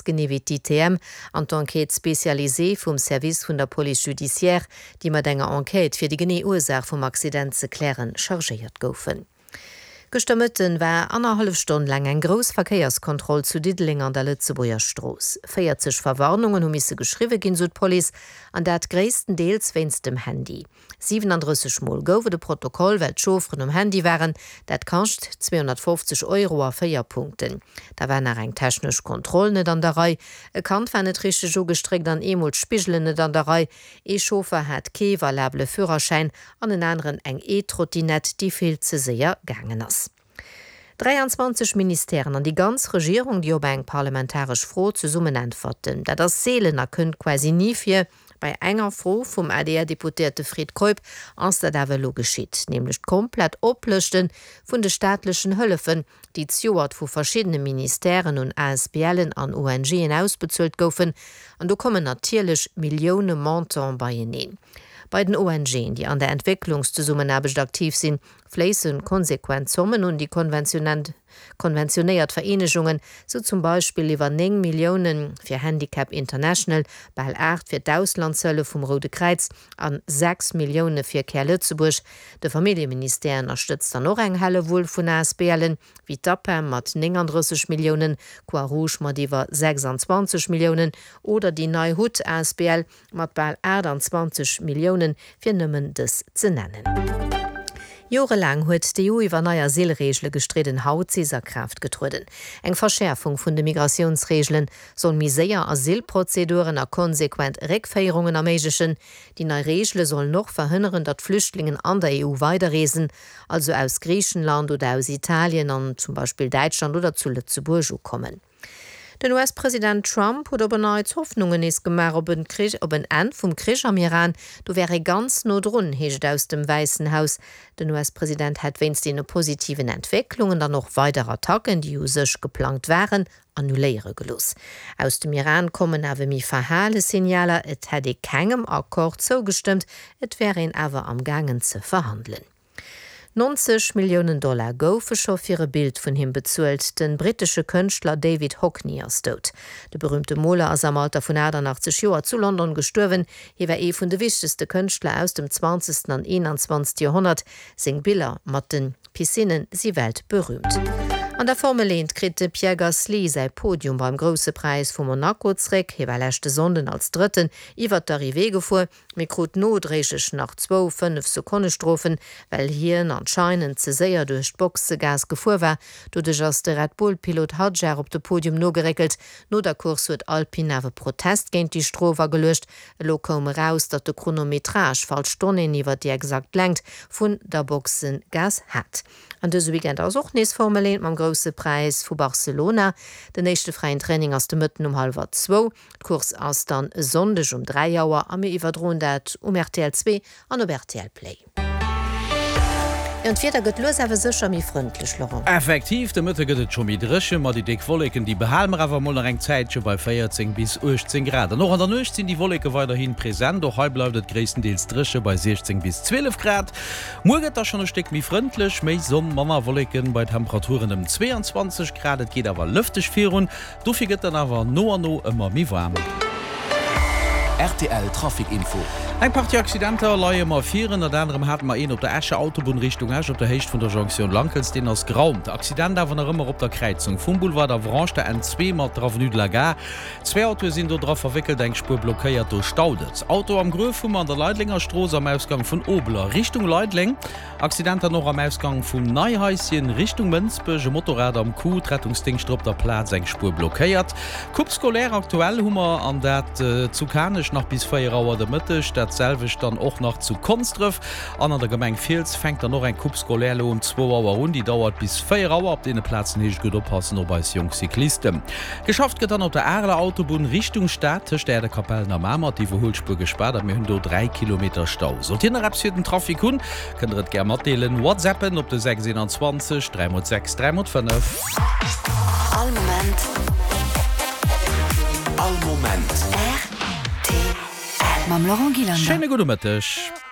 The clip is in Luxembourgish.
genee wéi d'ITM an d'Enquête spécialisée vum Service vun der Police judiciaire, déi mat enger Enquête fir déi genee Ursaach vum Accident ze klären, chargéiert goufen. Gëschter Mëtten war annerhallef Stonn laang eng grouss Verkéierskontroll zu Diddeleng an der Lëtzebuerger Strooss. 40 Verwarnungen hu misse geschriwwe ginn, sou d'Police, an dat gréisstendeels wéinst dem Handy. 37 Mol gouf et e Protokoll, well d'Chaufferen um Handy waren. Dat kascht 250 Euro a 4 Punkten. Da war nach eng technesch Kontroll net an der Rei, e Kand war net richteg ugestréckt an eemol d'Spigelen net an der Rei. Ee Chauffer hat kee valabele Führerschäin an en aneren eng E-Trottinett, déi vill ze séier gaangen ass. 23 Ministèren an déi ganz Regierung, déi op eng parlamentaresch Fro zesummen äntwerten. Dat ass seelen a kënnt quasi ni vir. Bei enger Fro vum ADR-Deputéierte Fred Keup ass dat awer elo geschitt, nämlech d'komplett Oplëschte vun de staatlechen Hëllefen, déi zjoert vu verschiddene Ministèren un ASBLen an ONGen ausbezuelt goufen. An do kommen natierlech Millioune Montant beieneen. Bei den ONGen, déi an der Entwécklungszesummenaarbecht aktiv sinn, fléisse konsequent Zommen un déi konventionéiert Vereenegungen, sou zum Beispill iwwer 9 Millioune fir Handicap International, bal 8 fir d'Auslandshëllef vum Roude Kräiz a 6 Millioune fir Care Lëtzebuerg. De Familljeministère ënnerstëtzt dann och eng Hellewull vun ASBLen, wéi d'APEM mat 39 Milliounen, Croix-Rouge mat iwwer 26 Milliounen oder déi Nei Hutt asbl mat bal 28 Milliounen, fir nëmmen dës ze nennen. Jorelaang huet d'EU iwwer nei Asylreegele gestridden. Haut si se a Kraaft getrueden. Eng Verschäerfung vun de Migratiounsreegele soll méi séier Asylprozeduren a konsequent Réckféierungen erméiglechen. Déi nei Reegele sollen och verhënneren, datt Flüchtlingen an der EU weiderreesen, also aus Griichenland oder aus Italien an zum Beispill Däitschland oder zu Lëtzebuerg ukommen. Den US-President Trump huet op en Neits Hoffnungen nees gemaach op en Krich, op en Enn vum Krich am Iran. Do wär ee ganz no drun, heescht et aus dem Wäissen Haus. Den US-President hätt wéinst deene positiven Entwécklungen dann och weider Attacken, déi u sech geplangt waren, annuléiere gelooss. Aus dem Iran kommen awer méi verhale Signaler, et hätt ee kengem Accord zougestëmmt, et wär een awer am gaangen ze verhandelen. 90 Milliounen Dollar goufe scho fir e Bild vun him bezuelt. De brittesche Kënschtler David Hockney ass dout. De berüümte Moler ass am Alter vun 88 Joer zu London gestuerwen. Hie war ee vun de wichtegste Kënschtler aus dem zwanzegsten an 21. Joerhonnert. Seng Biller mat de Piscinne si weltberüümt. An der Formel 1 kritt de Pierre Gasly säi Podium beim Grousse Präis vu Monaco zréck. Hie war leschte Sonnden als Drëtten iwwer d'Arrivée gefuer. Mee krut nodréiglech nach zwou 5 Sekonnestrofen, well hien anscheinend ze séier duerch d'Boxegaass gefuer war. Doduerch ass de Red Bull-Pilot Hadjar op de Podium nogeréckelt. No der Course huet Alpine awer Protest géint déi Strof ageluecht. Elo koum eraus, datt de Chronometrage falsch Donnéeën iwwer déi exakt Längt vun der Boxegaass hat. An dëse Weekend ass och nees Formel 1 mam Grousse Präis vu Barcelona. Den éischte fräien Training ass de Mëtten um hallwer zwou. D'Course ass dann e Sonndeg um 3 Auer a mir iwwerdroen dat um rtl 2 an op rtl Play. Jo, an d'Wieder gëtt lues awer sécher méi frëndlech, Laurent. Effektiv, de Mëtte gëtt et scho méi dréchen, ma déi déck Wolleken, déi behale mer awer mol nach eng Zäitche bei 14 bis 18 Grad. An och an der Nuecht sinn déi Wolleke weiderhi present, och hei bleift et gréisstendeels dréche bei 16 bis 12 Grad. Muer gëtt da schonn e Stéck méi frëndlech, méi Sonn, manner Wolleken bei Temperaturen ëm 22 Grad. Et geet awer lëfteg virun. Dofir gëtt dann awer no an no ëmmer méi waarm. Rtl Trafic Info. Eng Partie Accidenter leie mer vir. Ënnert anerem hate mer een op der Escher Autobunn Richtung Esch op der Héicht vun der Jonktioun Lankels. Deen ass geraumt. Accident awer nach ëmmer op der Kräizung vum Boulevard Avranches, der N2 mat der Avenue de la Gare. Zwee Autoe sinn do dra verwéckelt, eng Spuer blockéiert, do staut et. Auto am Gruef hu mer an der Leidlenger Strooss am Ausgang vun Obeler Richtung Leidleng. Accident dann och am Ausgang vum Neihaischen Richtung Mënsbech, e Motorrad am Coup, d'Rettungsdéngschter op der Plaz, eng Spuer blockéiert. Coupe scolaire aktuell hu mer an dat zu Kanech nach bis 4 Auer de Mëtteg, dat selwecht dann och nach zu Konsdref an an der Gemeng Fiels fänkt dann och eng Coupe scolaire elo um zwou Auer un, déi dauert bis 4 Auer. Op deene Plazen heescht gutt oppassen op eis jonk Cyclisten. Geschafft gëtt dann op der Areler Autobunn Richtung Stad tëscht Äerdekapellen a Mamer, d'Iwwerhuelspuer gespaart a mir hunn do 3 Kilometer Stau. Sollt Dir nach eppes fir den Trafic hunn, kënnt der et gär matdeelen. Whatsappen op de 6 21 3 x 6 3 x 5. All Moment. All Moment. Rtl. Mam Laurent Gillander. Schéine gudde Mëtteg.